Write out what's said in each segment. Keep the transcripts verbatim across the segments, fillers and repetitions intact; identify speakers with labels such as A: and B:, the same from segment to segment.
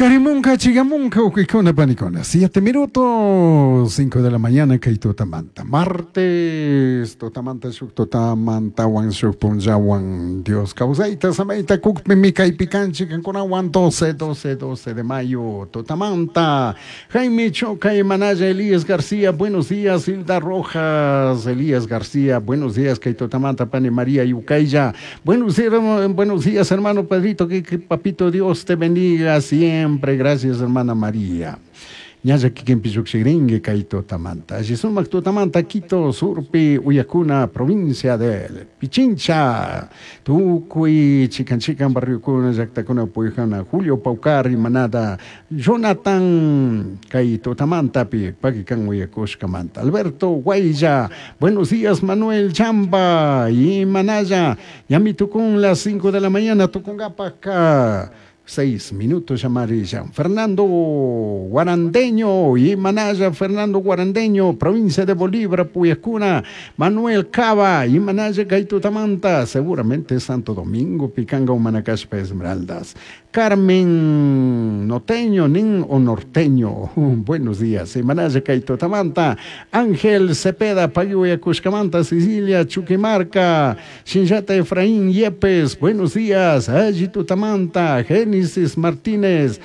A: Pakarimunka, chigamunka, ukikuna, panikuna. Siete minutos, cinco de la mañana, kay tutamanta. Martes, tutamanta, shuk tutamanta, wan shuk punllawan. Dios kawsayta, samayta, kukpi, kaypi kanchik, kankunawan, doce, doce, doce de mayo, tutamanta. Jaime Choca y Manaya, Elías García, buenos días, Hilda Rojas, Elías García, buenos días, kay tutamanta, pani María Yucaya. Buenos días, buenos días, hermano Pedrito, que, que papito Dios te bendiga siempre. Gracias, hermana María. Ñalla kikinpi llukshirinki kay tutamanta. Alli sumak tutamanta Quito, Surpi, Uyakuna, provincia de Pichincha. Tukuy, chikan chikan barriokuna, llaktakuna, puyjana, Julio Paucar, Manada, Jonathan, kay tutamantapi, pakikan uyakushkamanta. Alberto Guayya, buenos días, Manuel Chamba, y Manaya, Ñami tukun las cinco de la mañana, tukunkapaka. Seis minutos amarilla. Fernando Guarandeño y Manaya, Fernando Guarandeño, provincia de Bolívar, Puyacuna, Manuel Cava y Manaya, Gaitutamanta, seguramente Santo Domingo, Picanga, Humanacaspa, Esmeraldas. Carmen Noteño, Nin o Norteño, buenos días. Y Manaya, Gaitutamanta, Ángel Cepeda, Payuya, Cuscamanta, Sicilia, Chuquimarca, Shinjata Efraín Yepes, buenos días. Ayitutamanta, Génesis Martínez,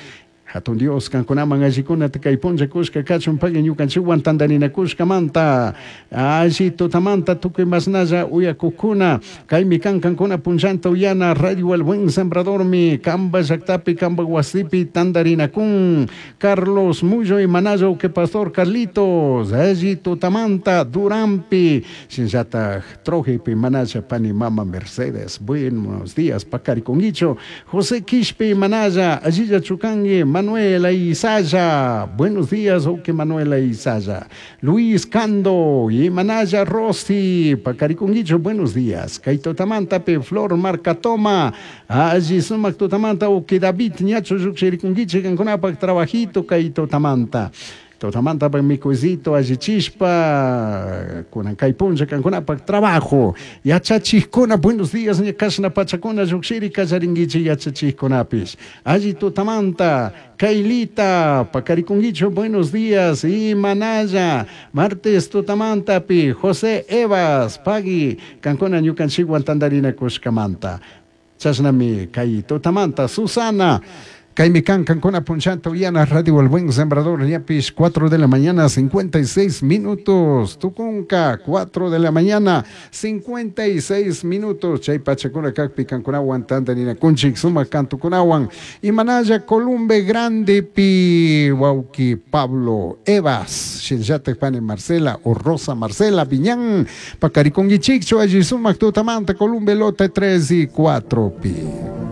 A: Hatun Dios, kankunaman allikuna kay punlla kushka kachun pagui ñukanchikwan tandarinakushkamanta alli tutamanta tukuy masnalla uyakukuna kaymi kan kankuna punllanta uyana Radio El Buen Sembradormi kamba llaktapi kamba wasipi tandarinakun Carlos Mullo y Manayo que Pastor Carlitos alli tutamanta Durampi shinllataj Trojipi Manaya pani mama Mercedes buenos días pakarikunguicho José Quispe Manaya allilla chukangi Manuela Isaya, buenos días, ok Manuela Isaya, Luis Cando y Manaya Rossi, Pacariconguicho, buenos días, Kaito Tamantape, Flor Marcatoma, Allí Sumac Tutamanta, ok David, Ñacho Yuxiriconguiche, Canconapac, Trabajito, Kaito Tamanta. Tutamanta pa mikuycito allichishpa kunan kay punlla kankunapak trabajo yachachikuna buenos días ña kashna pachakuna llukshiri kallarinkichik yachachikkunapish alli tutamanta Kailita pakarikunkichu buenos días y Manaya martes tutamantapi José Evas pagui kankuna ñukanchikwan tantarinakushkamanta chashnami kay tutamanta Susana Kaymi kan kankuna punchanta uyana Radio El Buen Sembrador ñapish cuatro de la mañana cincuenta y seis minutos Tukunka cuatro de la mañana cincuenta y seis minutos Chay pachakuna kakpi kankunawan tantarinakunchik sumak kantukunawan y Manaya Columbe Grande pi wawki Pablo Evas Shinllatak pani Marcela o Rosa Marcela Viñán Pacariconguichikchu alli sumak tutamanta Columbe lote tres y cuatro pi.